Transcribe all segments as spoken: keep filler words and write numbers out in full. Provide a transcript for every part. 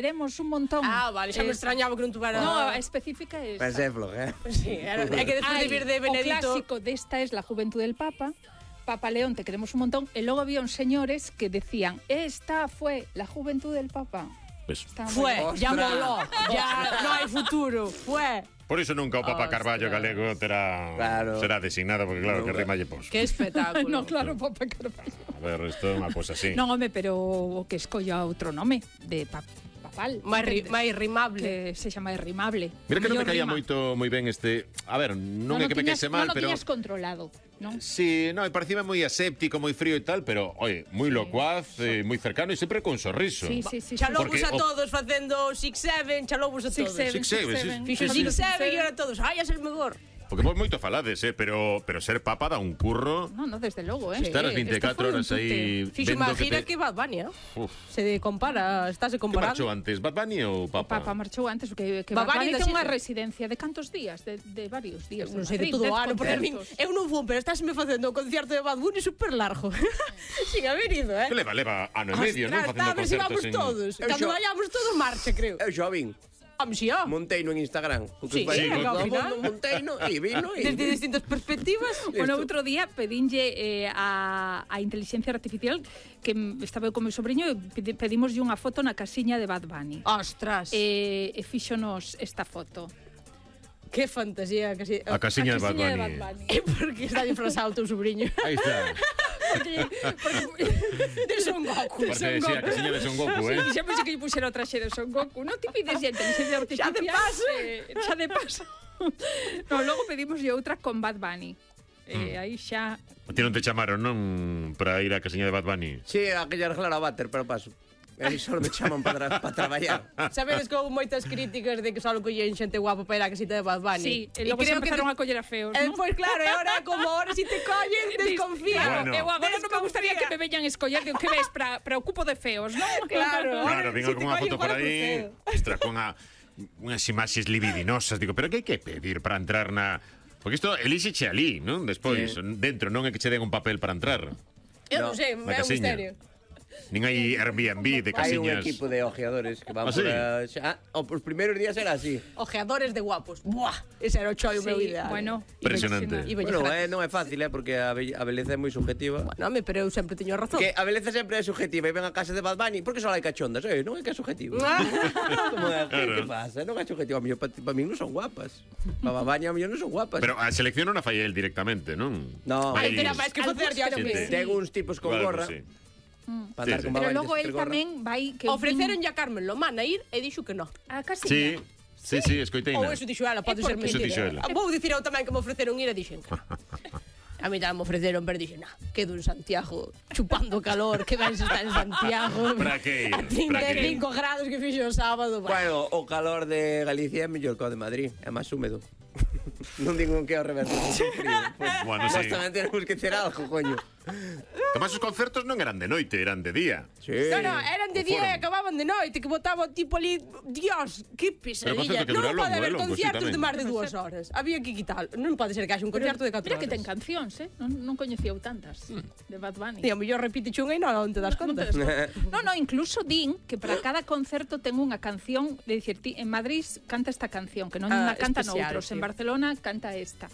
Queremos un montón. Ah, vale, xa me extrañaba que non tuvera... No, a específica é esa. Mas é flojera. Sí, era, é que despois de vir de Benedito... O clásico desta es la juventud del Papa. Papa León, te queremos un montón. E logo había uns señores que decían, esta fue la juventud del Papa. Pues, fue, ya moló, ya no hai futuro, fue. Por iso nunca o Papa Carballo galego terá claro. será designado, porque claro, que rima lle pos. Que espectáculo. No, claro, Papa Carballo. A ver, isto é unha cousa así. Non, home, pero o que escolla outro nome de Papa. máis ri, rimable, que sexa máis rimable. Mira que non me caía moito moi ben este, a ver, non, non é que me caese mal, non pero non tiñas controlado, non? Sí, no, e parecía moi aséptico, moi frío e tal, pero oye, moi sí. locuaz, eh, moi cercano e sempre con sorriso. Sí, sí, sí. Chalobos a todos facendo six seven, chalobos a todos. six seven, Fixo six seven e ahora todos, ai, es el mellor. Porque vos moito falades, eh, pero pero ser papa dá un curro. No, no, desde logo, eh. Estar as veinticuatro horas aí Fixo máis gira que, te... que Bad Bunny, eh? Se compara, estáse comparando. Que marchou antes, Bad Bunny ou Papa? Papa marchou antes, que, que Bad, Bad Bunny ten unha residencia de cantos días, de, de varios días. Non sei, de todo o ano, porque a min, eu non fun, pero estáseme facendo o concierto de Bad Bunny super largo. Sin haber ido, eh. Que leva, leva ano e medio, non? Facendo concertos. Está, a ver se vamos todos. Cando vayamos todos marcha, creo. Eu xa vin. Monteino en Instagram. Sí, sí, Monteino e vino e... Desde distintas perspectivas. Bueno, outro día pedinlle eh, a, a inteligencia artificial que estaba eu con meu sobrinho e pedimoslle unha foto na casiña de Bad Bunny. Ostras. E, e fíxonos esta foto. Que fantasía. Casi, a casiña, a casiña de Bad Bunny. De Bad Bunny. É porque está disfrazado o teu sobrinho. Aí está. Porque, porque, de Son Goku. Porque Son Goku. Sí, a casiña de Son Goku, eh? Sí, xa pensei que lle puxera o traxe de Son Goku. Non te pides ya inteligencia artificial. Xa de paso. Eh, xa de paso. No, logo pedimos outra con Bad Bunny. Eh, mm. aí xa... A ti non te chamaron, non? Para ir á casiña de Bad Bunny? Sí, aquella arreglar a váter, pero paso. E só me chaman para tra pa traballar. Sabedes que houve moitas críticas de que só collen xente guapa para ir á casita de Bad Bunny. Sí, e logo se empezaron que... a coller a feos, eh, ¿no? Pois pues, claro, e ahora como ahora si te collen, desconfía. Bueno. Eu agora non me gustaría que me veñan escoller, digo, que ves, para preocupo de feos, non? Claro. Claro, vin si algunha foto por aí, extra con a, unhas imaxes libidinosas, digo, pero que hai que pedir para entrar na... Porque isto elíxeche ali, non? Despois, sí. dentro, non é que che den un papel para entrar. Eu non sei, é un misterio. Nin hai Airbnb de casiñas. Hai un equipo de ojeadores que van ¿Ah, por sí? a... Ah, os primeiros días era así. Ojeadores de guapos. Buah, ese era o chollo sí, meu ideal. Bueno, impresionante. Bueno, eh, non é fácil, eh, porque a, be a beleza é moi subjetiva. Bueno, home, pero eu sempre teño razón. Que a beleza sempre é subjetiva e ven a casa de Bad Bunny porque só hai cachondas, eh, non é que é subjetivo. Como é, claro. Que pasa? Non é subjetivo, a mí para pa mí non son guapas. Para Bad Bunny a mí non son guapas. Pero a selección non a fai el directamente, non? No, hai que máis que facer ya non me. Ten uns tipos con gorra. Mm. Sí, sí. Pero logo el tamén vai que ofreceron ya Carmen Lomana ir e dixo que no. A casiña. Sí. Sí, sí, escoitei. Ou eso dixo ela, pode ser mentira. Vou dicir eu tamén que me ofreceron ir e dixen que a mí tamén me ofreceron, pero dixen, nah, quedo en Santiago chupando calor, que vais estar en Santiago. Para que ir? A trinta e cinco grados que fixo o sábado. Bueno, o calor de Galicia é mellor que o de Madrid, é máis húmedo. Non digo que é o reverso. Bueno, nós sí. tamén temos que ter algo, coño. Además, os concertos non eran de noite, eran de día. Sí. No, no, eran de día e acababan de noite, que botaba tipo ali, Dios, que pesadilla. Non pode haber conciertos de máis de dúas horas. Había que quitar. Non pode ser que haxe un concierto de catro horas. Mira que ten cancións, eh? Non, non coñecía tantas de Bad Bunny. E a mellor repite chunga e non, non te das conta. No, no, incluso din que para cada concerto ten unha canción, de dicir, ti, en Madrid canta esta canción, que non ah, canta noutros, sí. En Barcelona canta esta.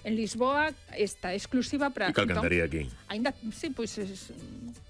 En Lisboa, esta, exclusiva para... E cal cantaría aquí? Ainda, sí, pois, pues,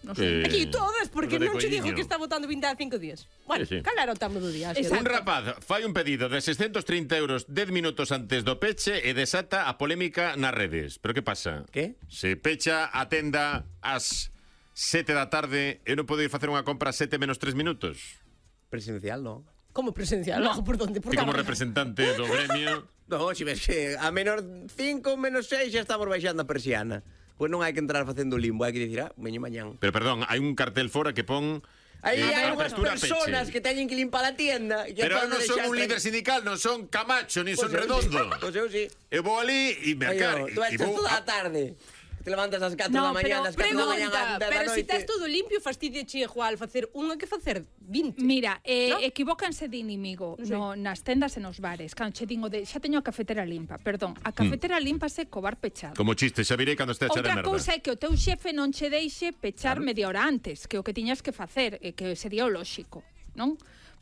non sei. Eh, aquí todas, porque non che dijo que está votando vinte e cinco días. Bueno, sí, sí. Cal era o tamo do día? Un rapaz fai un pedido de seiscentos trinta euros dez minutos antes do peche e desata a polémica nas redes. Pero que pasa? Que? Se pecha a tenda ás sete da tarde, eu non podo ir facer unha compra sete menos tres minutos? Presencial, non? Como presencial? No. Por donde? Por que como representante do gremio... No, si ves que a menos cinco, menos seis xa estamos baixando a persiana. Pois non hai que entrar facendo limbo, hai que dicir, ah, veño mañán. Pero perdón, hai un cartel fora que pon... Aí eh, hai unhas personas peche. Que teñen que limpar a tienda. Que pero non son un líder sindical, non son Camacho, ni pues son Redondo. Pois eu sí. Eu vou ali e me acar... Tú estás toda a tarde. Te levantas ás catro no, da mañá, ás catro da mañá da noite. Pero se estás todo limpio, fastidia che igual facer unha que facer vinte. Mira, eh, ¿no? Equivócanse de inimigo no, sí. no, nas tendas e nos bares. Cando che digo de, xa teño a cafetera limpa, perdón, a cafetera mm. límpase co bar pechado. Como chiste, xa virei cando este a echar a merda. Outra cousa é que o teu xefe non che deixe pechar claro. Media hora antes, que o que tiñas que facer, e que sería o lóxico, non?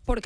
porque